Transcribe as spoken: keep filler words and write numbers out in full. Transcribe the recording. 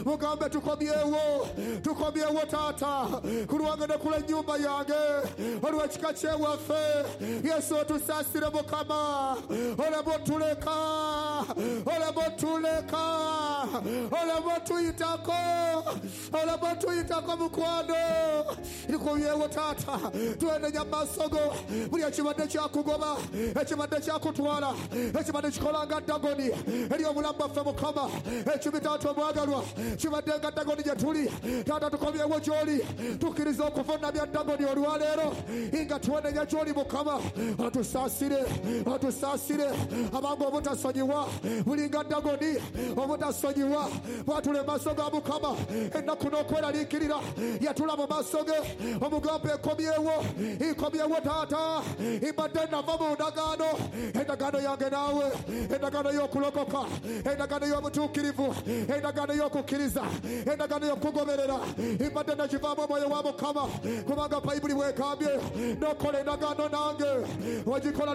Mugambe tukomyewo, tukomyewo taata ku lwange ne ku lw'ennyumba yange, olw'ekika kyewaffe. Yesu otusaasire Mukama, oleme otuleka, oleme otuleka, oleme otuyitako, oleme otuyitako mukwano. Tukomyewo taata, twenenya maaso go buli ekibadde kyakugoba, ekibadde kyakutwala, ekibadde kikola nga Dagoni eri obulamu bwaffe Mukama. Ekibi taata omwagalwa kibadde nga Dagoni gye tuli. Taata tukomyewo gy'oli, tukkiriza okuvunamya Dagoni olwaleero nga twenenya gy'oli Mukama. Otusaasire, otusaasire abanga obutasonyiwa bulinga Dagoni, obutasonyiwa bwatula emaaso ga Mukama ennaku n'okweraliikirira yatula mu maaso ge. Omugambo ekomyewo, ikomyewo taata, ibadde nava mu ndagaano, endagaano yange naawe, endagaano y'okulokoka, endagaano y'obutuukirivu, endagaano y'okukkiriza, endagaano y'okugoberera, ibadde nakivaamu omwoyo wa Mukama, kubanga Bayibuli bwegambye n'okola endagaano nange ogikola.